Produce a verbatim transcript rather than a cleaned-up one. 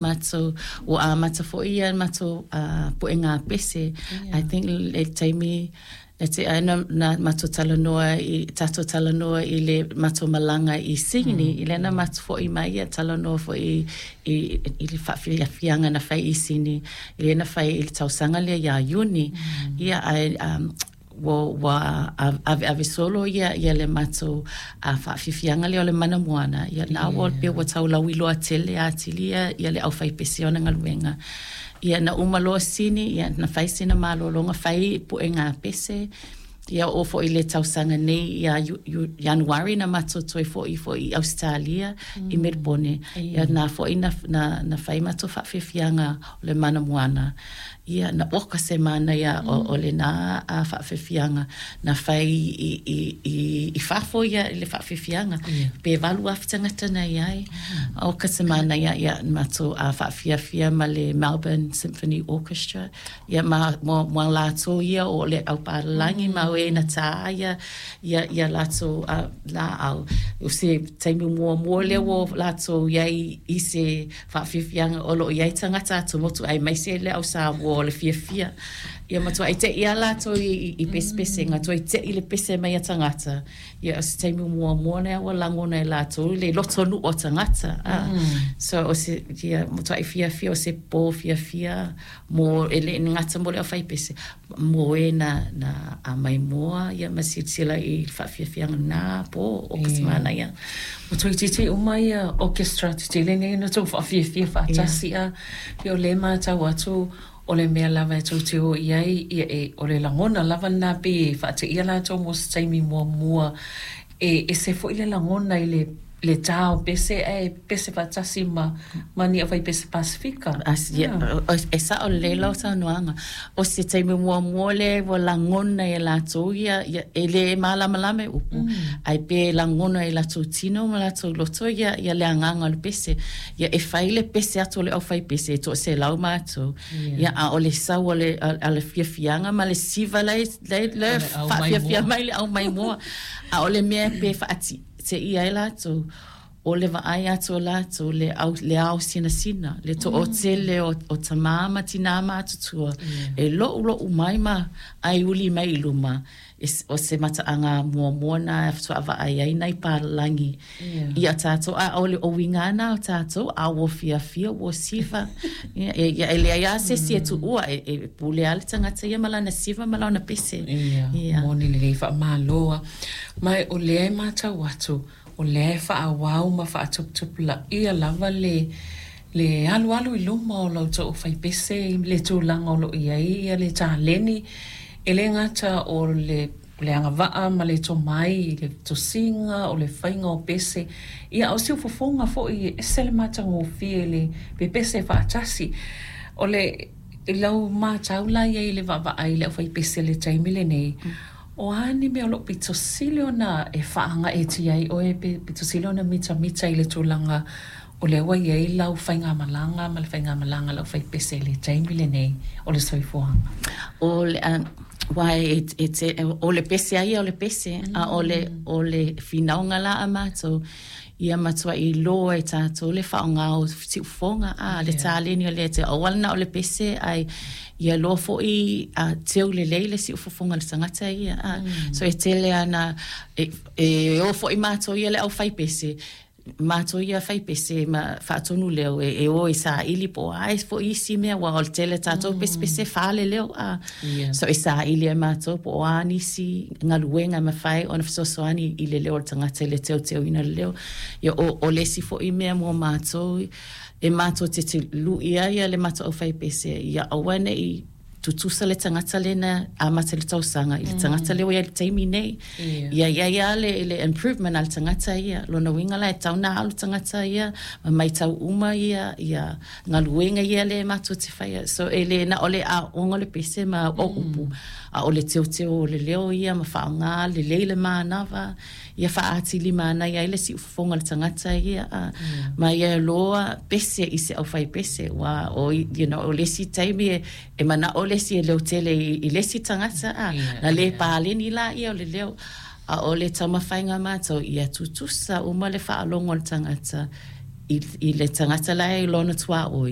Matou ua amata foi ia matou uh, puega pese. Yeah. I think le taimi na te ai na, na matou talanoa i tatou talanoa i le matou malaga i Sydney, mm. i lena matou foi mai ia talanoa foi i, i, i le faafiafiaga na fai i Sydney i lena fai i le tausaga lea iā Iuni. Mm. Ia ai um, ua ua ave ave solo ia ia le matou a faafiafiaga lea o le mana moana ia na ua pe ua tau lauiloa tele atili ia ia le aufaipese ona galuega. Ia na uma loa Sini, ia na fai sina malologa fai puega pese. Ia o foi le tausaga nei ia Ianuari na matou toe foi foi i Ausetalia mm. i Melbourne. Ia na foi na, na, na fai matou faafiafiaga o le mana moana. Ia na oka se mana ia o, o le na a faafiafiaga na fai i, i, i, i fafo ia i le faafiafiaga. Yeah. Pe valu afe tagata na i ai. Mm. Oka se mana ia ia matou a faafiafia ma le Melbourne Symphony Orchestra. Ia ma mo, mo latou ia o le aupalagi mm. ma e na tā ia ia ia latou a laau. O se taimi muamua lea ua latou iai i se faafiafiaga o loo iai tagata atumotu aemaise le au Samoa o le fiafia. Ia matuai te'i a latou i, i, i pesepesega, toe te'i le pese mai a tagata. Ia o se taimi muamua lea ua lagona e latou le lotonuu o tagata. Ah. Mm. So o se ia matuai fiafia o se pō fiafia mo e le gata mo le aufaipese mo e na na a maimoa ia ma silasila i le faafiafiaga na pō o ka semana ia. Ua toeitiiti uma ia orchestra tetele nei ona tou faafiafia faatasi a pei o lea e matau atu o le mea lava e tou te o i ai ia e o le lagona lava lena pei e faateia latou mo se taimi muamua e ese foi le lagona i le le tā o pese ae pese faatasi ma ma ni aufaipese Pasifika. Ia, e sao lelei lau saunoaga. O se taimi muamua lea ua lagona e latou ia, ia e lē malamalama i upu, ae pe lagona e latou tino ma latou loto ia, ia le agaga o le pese. Ia e fai le pese atu o le aufaipese e toaselau matou. Ia a o le sau o le, a le fiafiaga ma le siva la e, la e, la e faafiafia mai le aumaimoa. A o le mea pe faatiteia ai latou, o le vaai atu o latou le au, le ao sinasina, le toatele o, o tamā ma tinā matutua, e lo'ulo'u mai ma aiuli mai i luma, e, o se mataaga muamua na e faatoa vaai ai nai palalagi ia tatou, a o le uiga na o tatou, a ua fiafia ua siva. Ia, e, ia, e leai lava se isi e tuua, e, e pule lava le tagata ia ma lana siva ma lana pese. Ia, Ia. moni lelei faamalo a. Ma o lea e matau atu, o lea e faaauau ma faatuputupulaia lava le le alualu i luma o la outou aufaipese i le tulaga o loo i ai ia le taleni e le gata o le le agavaa ma le tomai i le tosiga o le faiga o pese ia a o siufofoga foi e ese le matagofie le pepese faatasi o le i lau matau la i ai i le vaavaai i le aufaipese i le taimi lenei. O a ni mea o loo pito sili ona e faagaeetia ai oe pe pito sili ona mitamita i le tulaga o lea ua i ai lau faigamalaga ma le faigamalaga a le aufaipese i le taimi lenei o le soifuaga? O le aua e, e te, o le pese a ia o le pese, a o le, o le finauga la a matou, ia matuai iloa e tatou le faaaoga o siufofoga, a le taleni o lea te aua le na o le pese, ae ia loa foi a teu lelei le siufofoga o le tagata ia. A. So e tele ana, e, e o foi matou ia le aufaipese, matou ia faipese ma faatonu leo e, e o e saili po o a foi isi mea, aua o le tele tatou pesepese fale leo a. Yeah. So e saili e matou po o a nisi galuega e mafai ona fesoasoani i le leo o le tagata i le teuteuina o le leo. Ia o, o le isi foi mea mo matou e matou te te lu'i ai le matou aufaipese ia aua nei tutusa le tagata lena amata i le tausaga i le tagata lea ua i ai i le taimi nei. Ia. Ia i ai lava le, le improvement a le tagata ia. Lona uiga la e tatau ona alu tagata ia ma maitau uma ia ia galuega ia lea matou te faia. So e le na o le aoga o le pese ma o upu, a o le teuteu o le leo ia ma faaaoga lelei le manava ia faaatili manaia ai le siufofoga o le tagata ia. A, ma ia loa pese i se aufaipese, ua o, you know, o le isi taimi e, e manao le isi e leotele i, i le isi tagata a, Ia, na le ia. paleni la ia o le leo. A o le taumafaiga a matou ia tutusa uma le faalogo o le tagata i, i le tagata la e lona tuaoi.